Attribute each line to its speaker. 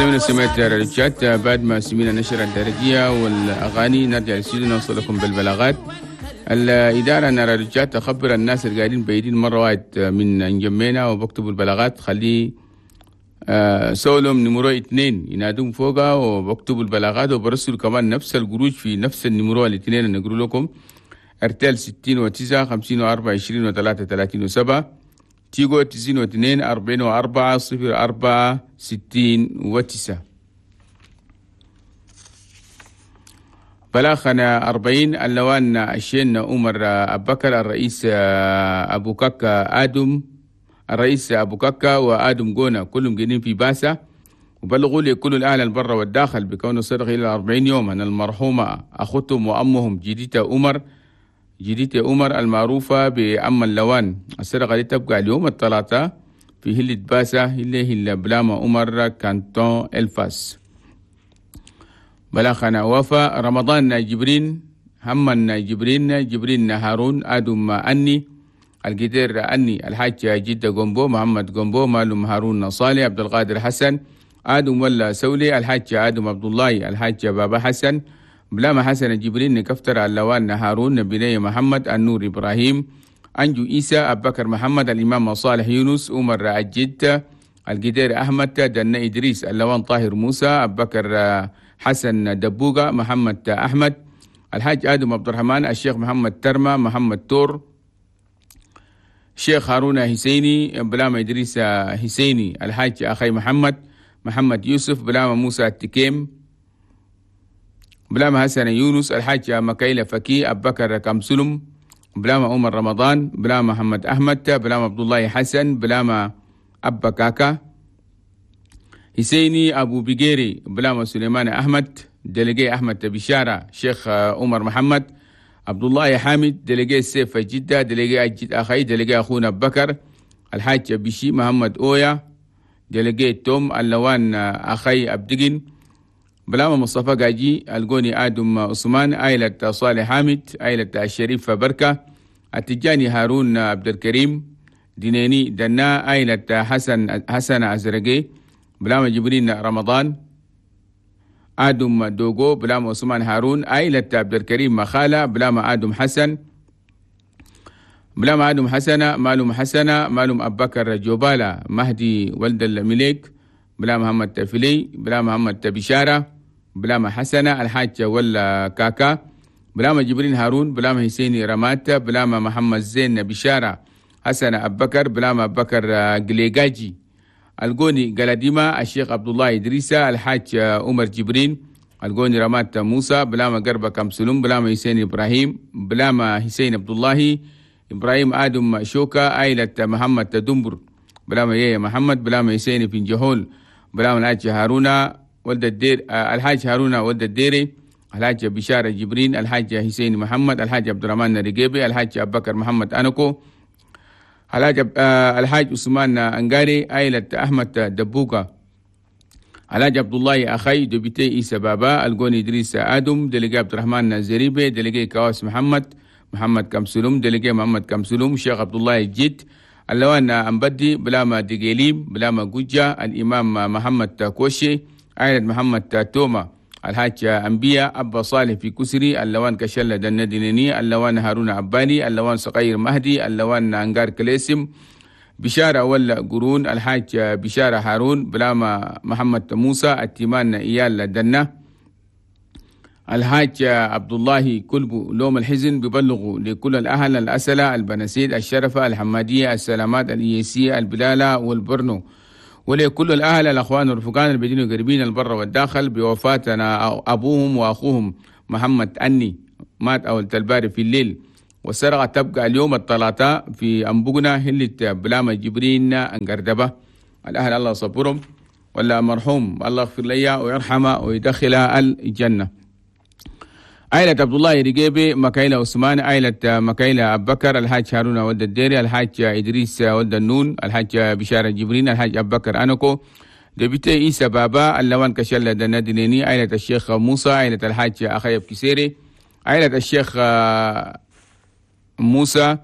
Speaker 1: زي ما سمعت رجعت بعد ما سمينا نشر الدرجية والأغاني، نرجع للاستوديو نوصل لكم بالبلاغات. الإدارة نرى رجعت تخبر الناس اللي قاعدين بعيدين مرة واحد من انجمينا وبكتبوا البلاغات، خليه سولهم numéro 2 ينادون فوقها وبكتبوا البلاغات، وبرسلوا كمان نفس القروش في نفس ال numéro الاثنين اللي نقول لكم. ارتال 69 54 23 37، تيجو 92 44 04 69. بلاغنا 40 اللوان الشين عمر أبكر الرئيس أبو كاكا آدم، الرئيس أبو كاكا وآدم جونا كلهم جايين في باسا، وبلغوا لي كل الأهل البر والداخل بكون صدق إلى 40 يوما أن المرحومة أختهم وأمهم جديدة عمر، جديدة عمر المعروفة بأم اللوان. السرقة دي تبقى اليوم الثلاثاء في هلة باسا اللي هي بلاما عمر كانتون الفاس. بلاغنا وفا رمضان جبرين، هما جبرين، جبرين هارون، آدم أني، القدير أني، الحاج جدة جومبو، محمد جومبو، مالم هارون صالح، عبد القادر حسن، آدم ولا سولي، الحاج آدم عبد الله، الحاج بابا حسن، بلاما حسن جبرين، كفتر اللوان هارون، بني محمد، النور إبراهيم، أنجو إيسى، أبكر محمد، الإمام صالح يونس، عمر الجد، القدير أحمد، دنا إدريس، اللوان طاهر موسى، أبكر حسن دبوغة، محمد أحمد، الحاج آدم عبد الرحمن، الشيخ محمد ترمى، محمد تور، شيخ هارون حسيني، بلاما إدريس حسيني، الحاج أخي محمد، محمد يوسف، بلاما موسى التكيم، بلاما حسن يونس، الحاج مكايلة فكي، أبكر كمسلم، بلاما عمر رمضان، بلاما محمد أحمد، بلاما عبد الله حسن، بلاما أبا كاكا حسيني، أبو بيجيري، بلاما سليمان أحمد، دلقي أحمد بشارة، شيخ عمر محمد، عبد الله حامد، دلقي سيف جدة، دلقي أجد أخي، دلقي أخونا بكر، الحاج بشي محمد أويا، دلقي توم اللوان أخي أبدقن، بلاما مصطفى قاجي، القوني آدم عثمان، عائلة صالح حامد، عائلة الشريف بركة، التجاني هارون عبد الكريم، دينيني دنا، عائلة حسن حسن أزرقي، بلاما جبرين رمضان، آدم دوغو، بلاما عثمان هارون، عائلة عبد الكريم مخالة، بلاما آدم حسن، بلاما آدم حسنة، مالوم حسنة، مالوم أبكر جوبالة، مهدي ولد الملك، بلا محمد تفلي، بلا محمد بشارة، بلا حسنة، الحاج ولا كاكا، بلا جبرين هارون، بلا حسيني رمات، بلا محمد زين بشارة، حسن أبكر، بلا أبكر قليقاجي، القوني قلديمة، الشيخ عبد الله إدريسة، الحاج عمر جبرين، القوني رمات موسى، بلا قربة كمسلوم، بلا حسين إبراهيم، بلا حسين عبد الله إبراهيم، آدم شوكا، عائلة محمد تدمبر، بلا يا محمد، بلا حسين في جهول، بلا الحاج هارون ولد الدير، الحاج هارون ولد الديري، الحاج بشارة جبرين، الحاج حسين محمد، الحاج عبد الرحمن الرقيبي، الحاج أبو بكر محمد أنكو، الحاج عثمان أنقاري، عائلة أحمد دبوكا، الحاج عبد الله أخي، député إيسى بابا، القوني إدريس آدم، délégué عبد الرحمن زريبي، délégué كواس محمد، محمد كمسلوم، délégué محمد كمسلوم، شيخ عبد الله الجد، اللوان أمبدي، بلاما دقيليم، بلاما جوجا، الإمام محمد كوشي، عائلة محمد توما، الحاج أنبياء، أبا صالح في كسري، اللوان كشلة دندنيني، اللوان هارون عباني، اللوان صغير مهدي، اللوان أنقار كليسم، بشارة ولا قرون، الحاج بشارة هارون، بلاما محمد موسى، التيمان إيال دنا، الحاج عبد الله كلبو لوم الحزن. ببلغوا لكل الأهل الأسلة، البنسيد، الشرفة، الحمادية، السلامات، الإيسية، البلالة والبرنو، ولكل الأهل الأخوان والرفقان البدين قريبين البر والداخل بوفاتنا أبوهم وأخوهم محمد أني، مات أول تلباري في الليل، والسرقة تبقى اليوم الثلاثاء في أنبوغنا هلة بلاما جبرين أنقردبة. الأهل الله صبرهم، ولا مرحوم الله يغفر لي ويرحمه ويدخلها الجنة. عائلة عبد الله رقيبي، مكايلة عثمان، عائلة مكايلة أبو بكر، الحاج هارون ولد الديري، الحاج إدريس ولد النون، الحاج بشارة جبرين، الحاج أبو بكر أنكو، député إيسى بابا، اللوان كشلة دندنيني، عائلة الشيخ موسى، عائلة الحاج أخيب كسيري، عائلة الشيخ موسى،